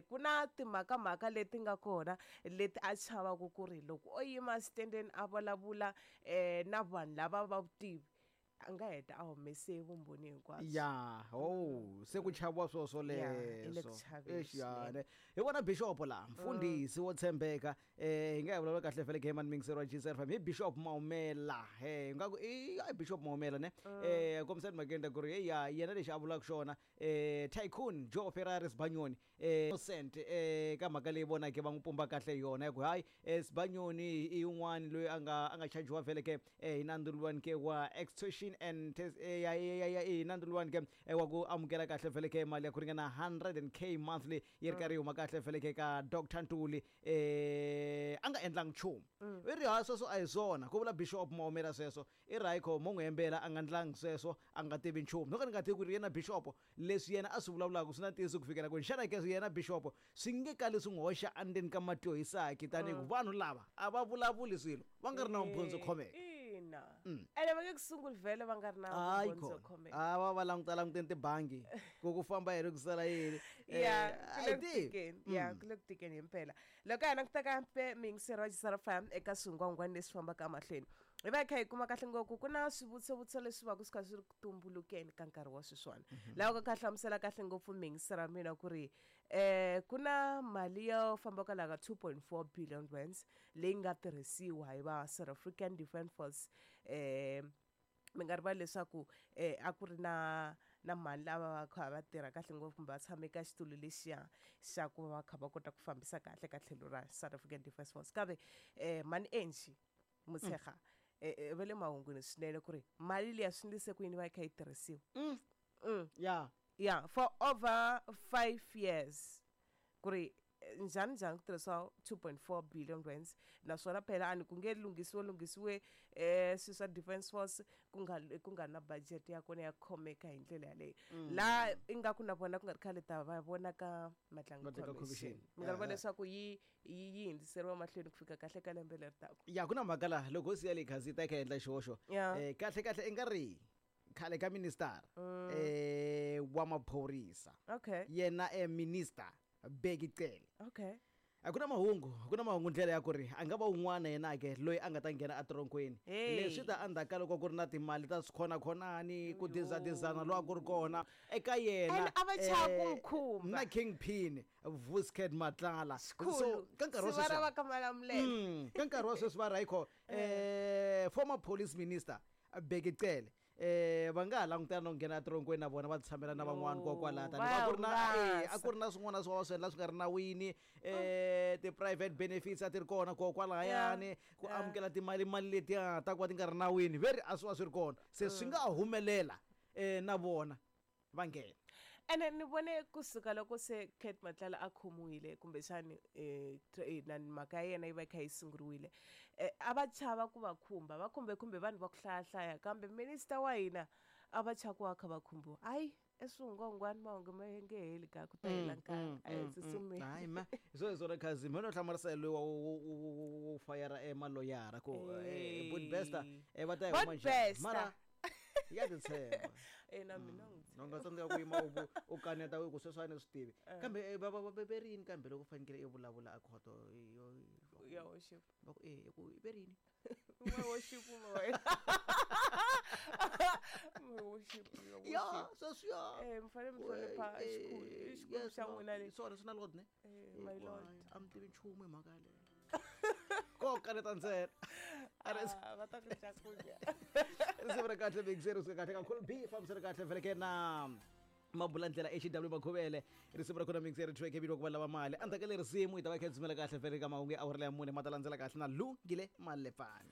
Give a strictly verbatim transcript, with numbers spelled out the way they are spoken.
eh ku na timhakamhaka leti nga kona leti a chavaka ku ri loko o yima xitendeni a vulavula eh na vanhu lava va vutivi a nga heta a humese vumbhoni hinkwabyo. Ya oh se ku chaviwa swo swoleswo exiyane hi vona bishop la mfundhisi wo tshembeka eh hi nga hi vulavula kahle vhele game mixer wa G S F M hi Bishop Maumela eh nga ku i Bishop Maumela ne eh kombisani makenda ku ri ya yena lexi a vulaka xona eh Tycoon Joe Ferrari Sibanyoni eh innocent eh ka mhaka leyi vonake va n'wi pumba kahle yona hi ku hayi Sibanyoni i yin'wana loyi a nga a nga chajiwa vhele ke hi nandzu ke wa extortion and ya ya ya i nandzu ke wa ku amukela kahle vhele ke mali ya ku ringana one hundred K monthly yi ri karhi yi huma kahle vhele ke ka Doctor Ntuli eh a nga endlangi nchumu i ri ha sweswo a hi swona ku vula Bishop Maumela sweswo i ri hayi kho mo n'wi hembela a nga ndlangi sweswo a nga tivi nchumu no ka ni nga tivi ku ri yena Bishop leswi yena a swi vulavulaka swi na ntiyiso ku fikela kwini xana ke yena Bishop swi nge kali swi n'wi hoxa endzeni ka mati yo hisaki tanihi ku vanhu lava a va vulavuli swilo va nga ri na vumbhoni byo khomeka. Ina ene va nge ku sunguli vhele va nga ri na vumbhoni byo khomeka a va va languta languteni tibangi ku ku famba hi ri ku sala yini ya ku le ku tikeni ya ku le ku tikeni himpela loko hi languta kambe miyingiseri wa G S F M eka swingwangwani leswi fambaka emahlweni hi va hi kha hi kuma kahle ngopfu ku na swivutiso leswi va ku swi kha swi ri ku tumbulukeni ka nkarhi wa sweswiwani laha ku kha hlamusela kahle ngopfu miyingiseri wa mina ku ri eh ku na mali yo famba kwalaho ka two point four billion rands leyi nga tirhisiwa hi va South African Defence Force eh mi nga rivali leswaku eh a ku ri na na mali lava va kha va tirha kahle ngopfu kumbe va tshame ka xitulu lexiya xa ku va kha va kota ku fambisa kahle ka tlhelo ra South African Defence Force kambe eh mani Angie Motshekga eh va le mahungwini swinene ku ri mali liya swi ndlise ku yini va yi kha yi tirhisiwa ya ya for over five years ku ri njhani njhani ku tirhisiwa two point four billion rands naswona phela a ni ku nge lunghisiwe lunghisiwe eh swilo swa Defence Force ku nga ku nga na budget ya kona ya khomeka hi ndlela yaleyo laha ingaku na vona ku nga ri khale ta va vona ka Madlanga Commission mi nga rivali leswaku yi yi hundziseriwa mahlweni ku fika kahle ka lembe leri taka ya ku na mhaka laha loko hosi ya le Khazita yi kha endla xihoxo eh kahle kahle i nga ri khale ka minister eh wa maphorisa okay yena e minister Bheki Cele okay a ku na mahungu ku na mahungu ndlela ya ku ri a nga va un'wana yena ke loyi a nga ta nghena etronkweni leswi ta endzhaku ka loko ku ri na timali ta swikhona-khonani ku dizadizana lowa ku ri kona eka yena a va chava ku n'wi khumba na Kingpin Vusket Matlala so ka nkarhi wa sweswi va ka Malamulele ka nkarhi wa sweswi va ri hayikho eh former police minister Bheki Cele eh va nga ha langutana no nghena etronkweni na vona va tshamela na van'wana kokwalaha tani va ku ri na eh a ku ri na swin'wana swa swi endla swi nga ri nawini eh ti-private benefits a ti ri kona kokwalahayani ku amukela timali mali letiya ta ku va ti nga ri nawini ve ri a swi va swi ri kona se swi nga humelela eh na vona va nghena ene ni vone kusuka loko se Cat Matlala a khomiwile kumbexani eh na mhaka ya yena yi va yi kha yi sunguriwile eh a va chava ku va khumba va khumbe khumbe vanhu va ku hlayahlaya kambe minister wa hina a va chava ku va kha va khumbiwa hayi eswingwangwani mahungu ma nge heli ka ku ta hela nkarhi a hi tsutsumeni hayi ma hi swona swona khazi mina no hlamarisa loyi wa wo fayara emaloyara ku Budbester va ta yi huma njhani mara ya titshemba eh na mina n'wi no nga tsandzeka ku yima u u kaneta ku sweswo a ni swi tivi kambe va va va rini kambe loko fanekele i vulavula a khoto yo ya worship va ku eh ku i ve rini my worship my my worship ya sweswo eh mi fanele mi hlonipha xikhulu xikhulu xa n'wina lexi swona swi na lord ne eh my lord a mi tivi nchumu hi mhaka yaleyo ko kaneta ntsena va ta ku cakunya risimu ra kahle big zero swi kahle kakhulu b fambisana kahle vhele ke na mabula ndlela H W Makhuvele risimu ra kona mix ri track ebilo ku va lava mali endzhaku ka lerisimu hi ta va kha hi dzumela kahle vhele ka mahungu ya awara ya mune ma ta landzela kahle na Lungile Malepfana.